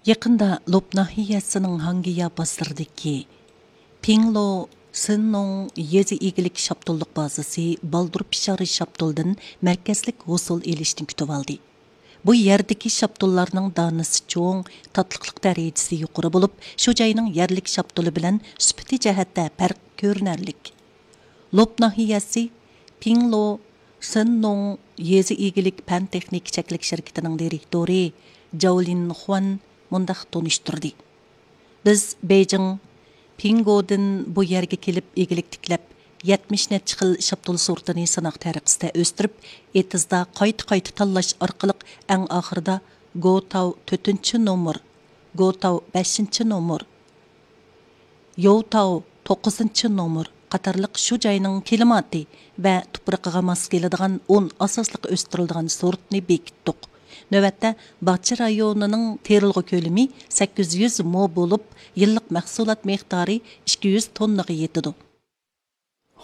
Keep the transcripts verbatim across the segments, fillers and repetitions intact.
يېقىندا لوپ ناھىيەسىنىڭ ھاڭگىيا بازىرىدىكى پىڭلو سىننوڭ يېزا ئىگىلىك شاپتۇللۇق بازىسى بالدۇر پىشار شاپتۇلدىن مەركەزلىك ھوسۇل ئېلىشنى كۈتۈۋالدى. بۇ يەردىكى شاپتۇللارنىڭ دانىسى چوڭ، تاتلىقلىق دەرىجىسى يۇقىرى بولۇپ، شۇ جاينىڭ يەرلىك شاپتۇلى بىلەن سۈپىتى جەھەتتە پەرق كۆرۈنەرلىك. لوپ ناھىيەسى پىڭلو سىننوڭ يېزا ئىگىلىك پەن تېخنىكا چەكلىك شىركىتىنىڭ دىرېكتورى جاۋلىن خۇەن مۇنداق تونۇشتۇردى: بىز بېيجىڭ پىڭگودىن بۇ يەرگە كېلىپ ئىگىلىك تىكلەپ، يەتمىش نەچچە خىل شاپتۇل سورتىنى سىناق تەرىقىسىدە ئۆستۈرۈپ، ئېتىزدا قايتا-قايتا تاللاش ئارقىلىق ئەڭ ئاخىرىدا گوتاۋ تۆتىنچى نومۇر، گوتاۋ بەشىنچى نومۇر، يوۋتاۋ توققۇزىنچى نومۇر قاتارلىق شۇ جاينىڭ كىلىماتى ۋە تۇپرىقىغا ماس كېلىدىغان ئون ئاساسلىق ئۆستۈرۈلىدىغان سورتنى بېكىتتۇق. نۆۋەتتە باغچە رايونىنىڭ تېرىلغۇ كۆلىمى سەككىز يۈز مو بولۇپ، يىللىق مەھسۇلات مىقدارى ئىككى يۈز توننىغا يېتىدۇ.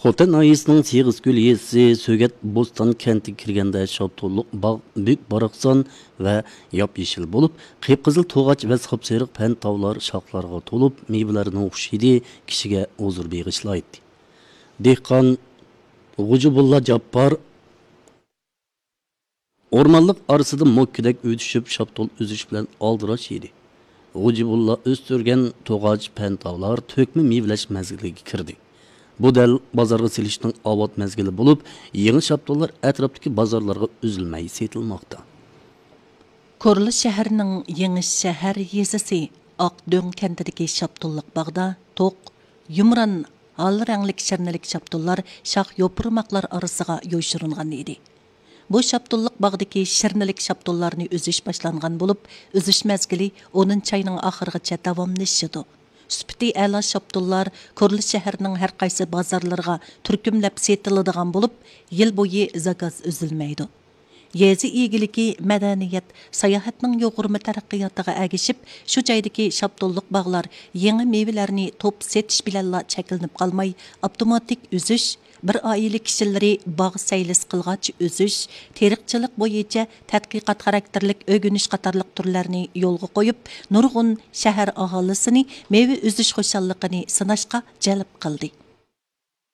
خوتەن ناھىيەسىنىڭ سېغىزكۆل يېزىسى سۆگەت بوستان كەنتىگە كىرگەندە شاپتۇللۇق باغ بۈك باراقسان ۋە ياپيېشىل بولۇپ، قىپقىزىل توغاچ ۋە ساپسېرىق پەنتاۋلار شاخلارغا تولۇپ، مېۋىلەرنىڭ خۇش ھىدى كىشىگە ھۇزۇر بېغىشلايتتى. دېھقان غوجىبۇللا جاپپار ئورمانلىق ئارىسىدا مۆككىدەك ئۆتۈشۈپ، شاپتۇل ئۈزۈش بىلەن ئالدىراش ئىدى. غوجىبۇللا ئۆستۈرگەن توغاچ پەنتاۋلار تۆكمە مېۋىلەش مەزگىلىگە كىردى. بۇ دەل بازارغا سېلىشنىڭ ئاۋات مەزگىلى بولۇپ، يېڭى شاپتۇللار ئەتراپتىكى بازارلارغا ئۈزۈلمەي سېتىلماقتا. كورلا شەھەرنىڭ يېڭى شەھەر يېزىسى ئاقدۆڭ كەنتىدىكى شاپتۇللۇق باغدا توق، يۇمران، ھال رەڭلىك شىرنىلىك شاپتۇللار شاخ يوپۇرماقلار ئارىسىغا يوشۇرۇنغان ئىدى. بۇ شاپتۇللۇق باغدىكى شىرنىلىك شاپتۇللارنى ئۈزۈش باشلانغان بولۇپ، ئۈزۈش مەزگىلى ئونىنچى ئاينىڭ ئاخىرىغىچە داۋاملىشىدۇ. سۈپىتى ئەلا شاپتۇللار كورلا شەھەرنىڭ ھەر قايسى بازارلىرىغا تۈركۈملەپ سېتىلىدىغان بولۇپ، يىل بويى زاكاز ئۈزۈلمەيدۇ. يېزا ئىگىلىكى، مەدەنىيەت، ساياھەتنىڭ يۇغۇرما تەرەققىياتىغا ئەگىشىپ، شۇ جايدىكى شاپتۇللۇق باغلار يېڭى مېۋىلەرنى توپ سېتىش بىلەنلا چەكلىنىپ قالماي، ئاپتوماتىك ئۈزۈش، بىر ئائىلە كىشىلىرى باغ سەيلىسى قىلغاچ ئۈزۈش، تېرىقچىلىق بويىچە تەتقىقات خاراكتېرلىك ئۆگىنىش قاتارلىق تۈرلەرنى يولغا قويۇپ، نۇرغۇن شەھەر ئاھالىسىنى مېۋە ئۈزۈش خۇشاللىقىنى سىناشقا جەلپ قىلدى.